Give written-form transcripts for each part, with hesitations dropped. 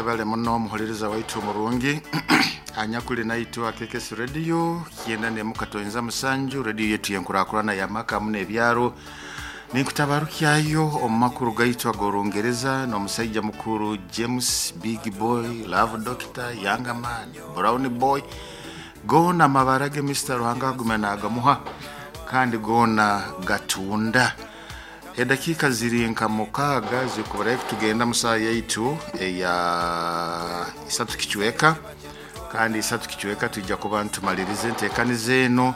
Webale muno omuhuliriza waitu omurungi anyakuli naitwe akekesi radio 97 radio yetu yenkurakurana yamaka hamu n'ebyaro. Ninkutabarukyayo omu makuru gaitu ag'orungereza n'omusaija mukuru James Big Boy Love Doctor Younger Man Brown Boy, goona amabara ge Mr Ruhanga agumya nagamuha kandi goona gatunda. Edakiika ziri nka 6 zikuburayo kutugenda mu saaha yaitu eya isatu kicweka, kandi isatu kicweka twija kuba nitumaliriza enteekaniza eno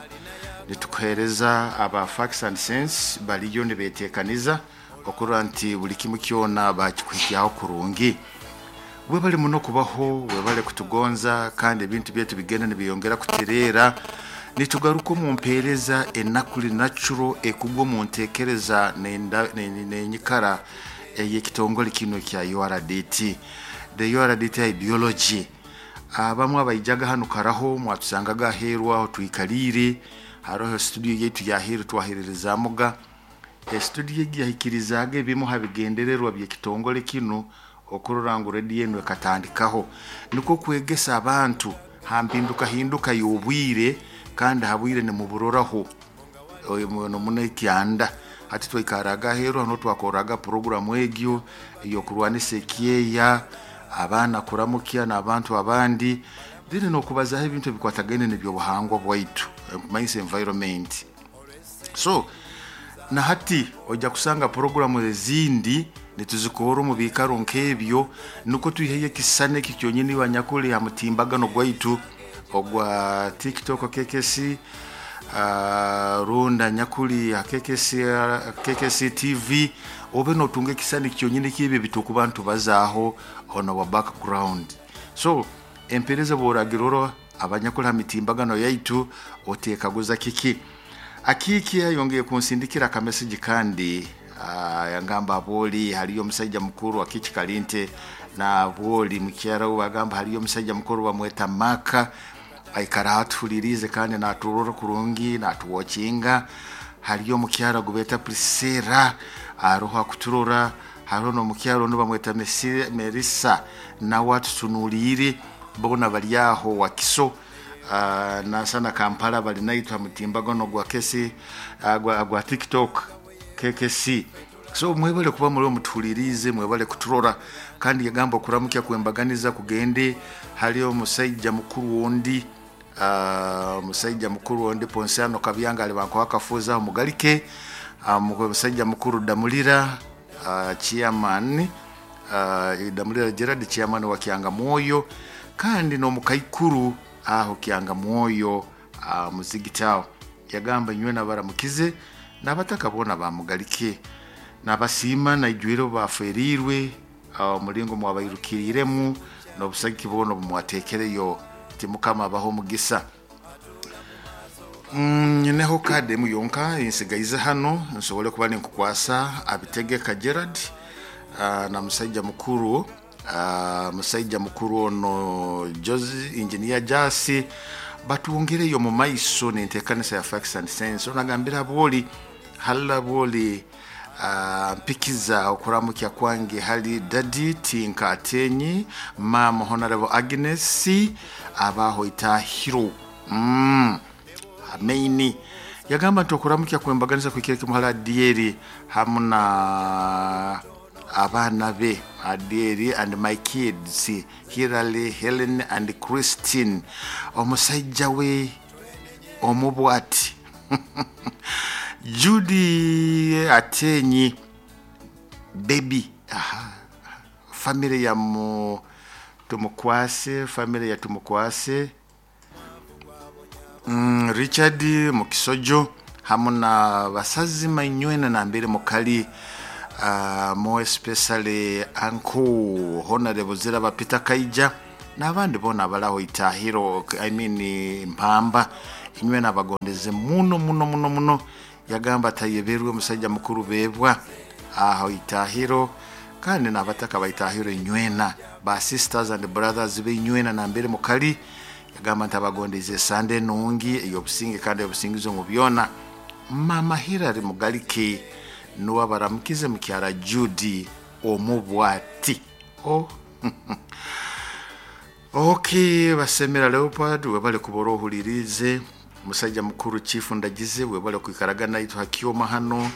nitukuheereza aba Facts and Sense bariyo nibeteekaniza okurora nti buli kimu kyona bakikuhikyaho kurungi. Webale muno kubaho, webale kutugonza kandi ebintu byaitu bigenda nibyeyongera kutereera. Nitugaruka omu mpeereza enakuli natural ekugwa omu nteekereza n'enyikara ey'ekitongole kinu ekya URDT. The URDT ideology. Abamu abaijaga hanu karaho mwatusangaga aheeru aho twikaliire, haroho studio yaitu y'aheeru twaheererezaamuga. Estudio egi yahikirizaaga ebimu ha bigendererwa by'ekitongole kinu okurora ngu rediyo enu ekatandikaho. Nikwo kwegesa abantu ha mpindukahinduka y'obwire kandi ha bwire nimuburoraho muno ekyanda. Hati twaikarraga aheeru hanu twakorraga puroguramu egyo ey'okurwanisa ekyeya, abaana kuramukya n'abantu abandi, then n'okubazaaho ebintu ebikwatagaine n'ebyobuhangwa bwaitu, kumanyisa environment. So na hati ojja kusanga puroguramu ezindi nituzikorra omu biikaro nk'ebyo nukwo twiheyo ekisisani eki kyonyini iwe anyakuli ha mutimbagano gwaitu ogwa TikTok KKC, rundi anyakuli ha KKC, KKC TV, obe notunga ekisisani kyonyini ky'ebi ebiturukuba nitubazaaho on our background. So empeereza obu oragirora abanyakuli ha mitimbagano yaitu oteekaguza kiki. Akiiki ayongeye kunsindikira akamesegi kandi yangamba abwoli haliyo omusaija mukuru Akiiki Kalinte na abwoli mukyara we bagamba haliyo omusaija mukuru bamweta Maka aikara atuhuliriize kandi naturora kurungi natuwokinga. Haliyo omukyara gubeta Priscilla aroho akuturora, hariho n'omukyara ondi bamweta Melissa nawe atutunuliire, boona bali aho Wakiso nasana Kampala bali naitwe ha mutimbagano gwa kesi gwa TikTok KKC. So mwebale kuba muri mutuhuliriize, mwebale kuturora kandi yagamba okuramukya kwembaganiza kugende hali omusaija mukuru ondi, omusaija mukuru ondi Ponsiano Kabyanga ali bankuha akafuuza aho mugalike, omusaija mukuru Damulira chairman, Damulira Gerard chairman wa Kyangamwoyo kandi n'omukaikuru aho Kyangamwoyo muzigiti aho. Yagamba inywe nabaramukize n'abataka boona bamugalike, nabasiima naijwire obu baferiirwe omulingo mwabairukiriiremu n'obusagiki bwona obu mwateekereyo, ti Mukama abahe omugisa. Nyineho kaadi emu yonka ensigaize hanu nsobole kuba ninkukwasa Abitegeka Gerard na musaija mukuru, musaija mukuru ono Jose Engineer Jasi batwongereyo omu maiso n'enteekanisa ya Facts and Sense. Ono agambire abwoli halala abwoli mpikiza okuramukya kwange hali Daddy Tinka Atenyi, Mama Honorable Agnes abaho Itahiro. Ameini yagamba nti okuramukya kwembaganiza kuhikire kimu hali Adieri hamu na abaana be Adieri and my kids Hilary, Helen and Christine, omusaija we omubwati Judy Atenyi baby, aha family ya mu Tumukwase, family ya Tumukwase, Richard Mukisojo hamu na basazi mainywena nambere mukali, more especially uncle Honorable Ziraba Peter Kaija n'abandi boona abalaho Itahiro, I mean Mpamba, inywena abagondeze muno muno muno muno. Yagamba atayeberwe omusaija mukuru Bebwa aho Itahiro kandi n'abataka ba Itahiro inywena ba sisters and brothers be inywena nambere mukali. Yagamba nti abagondeize esande enungi ey'obusinge kandi ey'obusingizi omu byona. Mama Hilary Mugalike nuwe abaramukize mukyara Judy omubwati. Oh. Okay, basemera Leopold, webale kubora ohulirize. Musajja mukuru Chief Ndagize, webale kwikaraga naitu hakioma hano.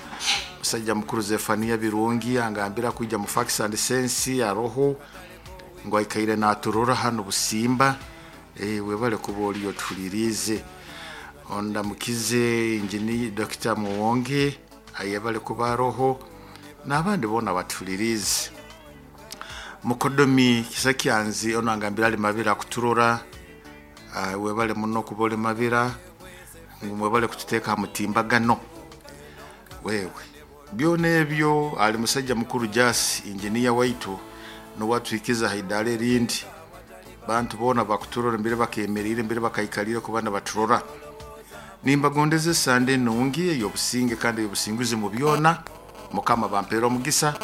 Musajja mukuru Zefania Birungi angambira kwijja mu Facts and Sense aroho ngo aikaire naturora hano Busimba. Webale kuba oliyo tuhulirize. Ondamukize Engineer Dr. Muwonge ayebale kuba aroho n'abandi bona batulirize. Mukodomi Kisakyanzi ono angambira ali Mabira kuturora. Webale muno kuba oli Mabira, mwebale kututeeka mutimbagano. Wewe byona ebyo ali musajja mukuru Jas engineer waitu nowatwikiza haidale erindi. Bantu bona bakuturora mbere bakemerire mbere bakaikalire kubana baturora. Nimbagondeze Sande nungi ey'obusinge kandi ey'obusinguzi mu byona. Mukama bampera omugisa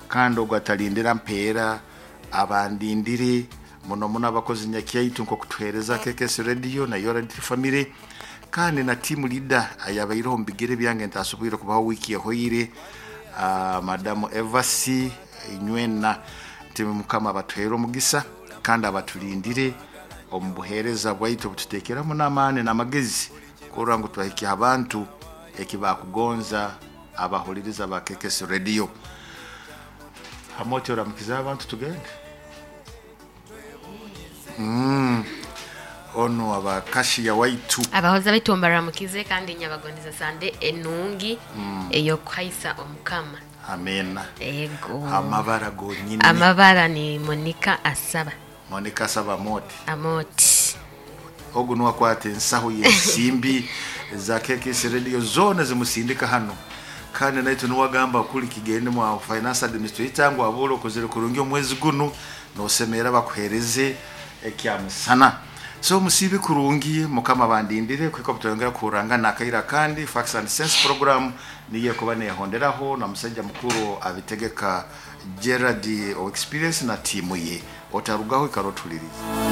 kandi ogwo atalindira mpeera abandindire muno muno abakozi nyakyaitu nkokutuhereza KKS Radio na Yoradi Family kandi na team leader ayabaireho mu bigere byange ntasoboire kubaho wiki ehoire, Madamu Evasi Inywena. Nti Mukama abatuhere omugisa kandi abatulindire omu buheereza bwaitu obututeekeramu n'amaani n'amagezi kurora ngu twahikya abantu ekibakugonza abahuliriza ba KKS Radio. Hamoti oramukiza abantu tugende. Ono abakashiya waitu abahoza baitu mbaramukize kandi nyabagondeza Sande enungi eyokuhaisa omukama. Amena. Ego. Amabara gonyine. Amabara ni Monica Asaba. Monica Asaba Amoti. Amoti. Ogu nuwakwata ensaho y'ensimbi za KKS Radio zona zimusindika hano. Kandi naitu nuwagamba kuli kigende mu finance administrator ngo abule okozere kurungi omwezi gunu nosemera bakuhereze ekyamusana. So musibe kurungi Mukama bandindire kwiko butongera kuranga nakaira kandi Facts and Sense program niye kuba nehonderaho na musajja mukuru abitegeka Gerard o experience na timu ye otarugaho ikarotuliriza.